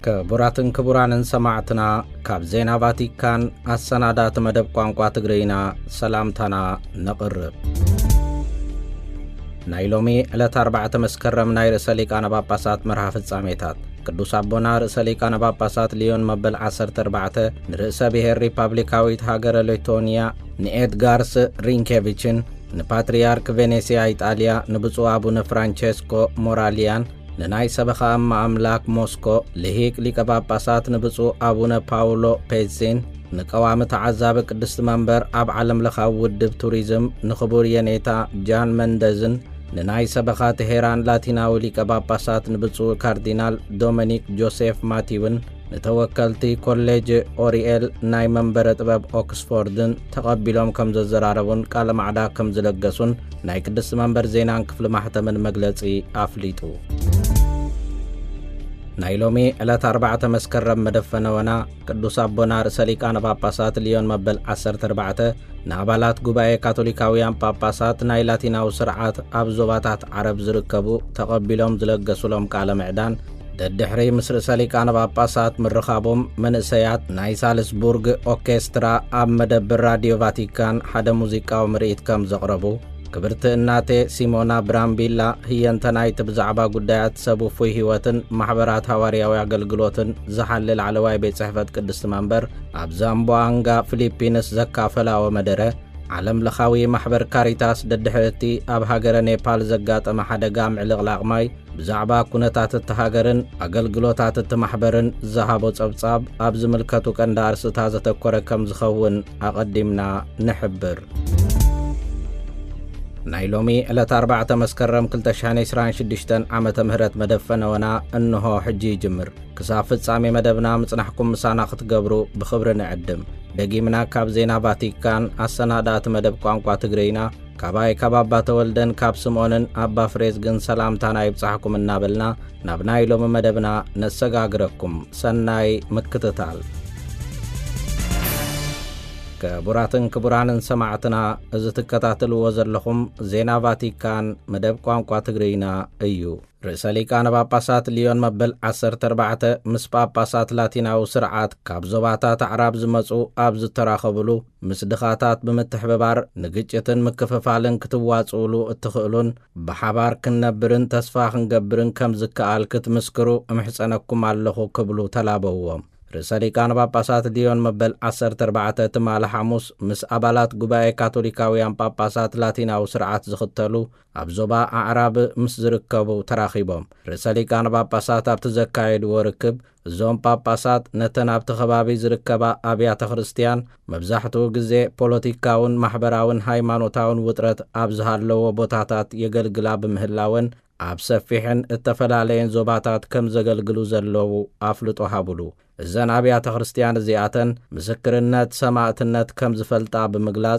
ክቡራትን ክቡራንን ሰማዕትና፣ ካብ ዜና ቫቲካን ኣሰናዳእቲ መደብ ቋንቋ ትግርይና ሰላምታና ነቕርብ። ናይ ሎሚ ዕለት ኣርባዕተ መስከረም ናይ ርእሰ ሊቃነ ጳጳሳት መርሃ ፍጻሜታት። ቅዱስ ኣቦና ርእሰ ሊቃነ ጳጳሳት ሊዮን መበል ዓሰርተ ኣርባዕተ ንርእሰ ብሔር ሪፓብሊካዊት ሃገረ ሌቶንያ ንኤድጋርስ ሪንኬቪችን፣ ንፓትርያርክ ቬኔስያ ኢጣልያ ንብፁዕ ኣቡነ ፍራንቸስኮ ሞራልያን፣ ንናይ ሰበኻ እማ ኣምላክ ሞስኮ ልሂቅ ሊቀ ጳጳሳት ንብፁዕ ኣቡነ ፓውሎ ፔዚን፣ ንቀዋሚ ተዓዛቢ ቅድስቲ መንበር ኣብ ዓለም ለኻዊ ውድብ ቱሪዝም ንኽቡር የኔታ ጃን መንደዝን፣ ንናይ ሰበኻ ቴሄራን ላቲናዊ ሊቀ ጳጳሳት ንብፁዕ ካርዲናል ዶሚኒክ ጆሴፍ ማቲውን፣ ንተወከልቲ ኮሌጅ ኦሪኤል ናይ መንበረ ጥበብ ኦክስፎርድን ተቐቢሎም ከም ዘዘራረቡን ቃለ ማዕዳ ከም ዝለገሱን ናይ ቅድስቲ መንበር ዜናን ክፍሊ ማሕተምን መግለጺ ኣፍሊጡ። ናይ ሎሚ ዕለት ኣርባዕተ መስከረም መደብ ፈነወና ቅዱስ ኣቦና ርእሰ ሊቃነ ጳጳሳት ሊዮን መበል ዓሰርተ ኣርባዕተ ንኣባላት ጉባኤ ካቶሊካውያን ጳጳሳት ናይ ላቲናዊ ስርዓት ኣብ ዞባታት ዓረብ ዝርከቡ ተቐቢሎም ዝለገሱሎም ቃለ ምዕዳን፣ ደድሕሪ ምስ ርእሰ ሊቃነ ጳጳሳት ምርኻቦም፣ መንእሰያት ናይ ሳልስቡርግ ኦርኬስትራ ኣብ መደብር ራድዮ ቫቲካን ሓደ ሙዚቃዊ ምርኢት ከም ዘቕረቡ፣ ክብርቲ እናቴ ሲሞና ብራምቢላ ህየንተ ናይቲ ብዛዕባ ጉዳያት ሰብ ውፉይ ህይወትን ማሕበራት ሃዋርያዊ ኣገልግሎትን ዝሓሊ ላዕለዋይ ቤት ጽሕፈት ቅድስቲ መንበር ኣብ ዛምቦኣንጋ ፊሊፒንስ ዘካፈላዎ መደረ፣ ዓለም ለኻዊ ማሕበር ካሪታስ ደድሕሪ እቲ ኣብ ሃገረ ኔፓል ዘጋጠመ ሓደጋ ምዕልቕላቕ ማይ፣ ብዛዕባ ኩነታት እቲ ሃገርን ኣገልግሎታት እቲ ማሕበርን ዝሃቦ ጸብጻብ ኣብ ዝምልከቱ ቀንዲ ኣርእስታት ዘተኮረ ከም ዝኸውን ኣቐዲምና ንሕብር። ናይ ሎሚ ዕለት ኣርባዕተ መስከረም ክልተ ሽሕን ዕስራን ሽዱሽተን ዓመተ ምህረት መደብ ፈነወና እንሆ ሕጂ ይጅምር። ክሳብ ፍጻሜ መደብና ምጽናሕኩም ምሳና ክትገብሩ ብኽብሪ ንዕድም። ደጊምና ካብ ዜና ቫቲካን ኣሰናዳእቲ መደብ ቋንቋ ትግርይና፣ ካባይ ካብ ኣባ ተወልደን ካብ ስምኦንን ኣባ ፍሬዝግን ሰላምታና ይብጻሕኩም እናበልና፣ ናብ ናይ ሎሚ መደብና ነሰጋግረኩም። ሰናይ ምክትታል። ክቡራትን ክቡራንን ሰማዕትና፣ እዚ ትከታተልዎ ዘለኹም ዜና ቫቲካን መደብ ቋንቋ ትግርይና እዩ። ርእሰ ሊቃነ ጳጳሳት ሊዮን መበል ዓሰርተ ኣርባዕተ ምስ ጳጳሳት ላቲናዊ ስርዓት ካብ ዞባታት ኣዕራብ ዝመጹ ኣብ ዝተራኸብሉ፣ ምስ ድኻታት ብምትሕብባር ንግጭትን ምክፍፋልን ክትዋጽኡሉ እትኽእሉን ብሓባር ክንነብርን ተስፋ ክንገብርን ከም ዝከኣል ክትምስክሩ እምሕጸነኩም ኣለኹ ክብሉ ተላበውዎም። ርእሰ ሊቃነ ጳጳሳት ሊዮን መበል ዓሰርተ ኣርባዕተ ትማሊ ሓሙስ ምስ ኣባላት ጉባኤ ካቶሊካውያን ጳጳሳት ላቲናዊ ስርዓት ዝኽተሉ ኣብ ዞባ ኣዕራብ ምስ ዝርከቡ ተራኺቦም። ርእሰ ሊቃነ ጳጳሳት ኣብቲ ዘካየድዎ ርክብ፣ እዞም ጳጳሳት ነተን ኣብቲ ከባቢ ዝርከባ ኣብያተ ክርስቲያን መብዛሕትኡ ግዜ ፖለቲካውን ማሕበራውን ሃይማኖታውን ውጥረት ኣብ ዝሃለዎ ቦታታት የገልግላ ብምህላወን፣ ኣብ ሰፊሕን እተፈላለየን ዞባታት ከም ዘገልግሉ ዘለዉ ኣፍልጦ ሃቡሉ። እዘን ኣብያተ ክርስቲያን እዚኣተን ምስክርነት ሰማእትነት ከም ዝፈልጣ ብምግላጽ፣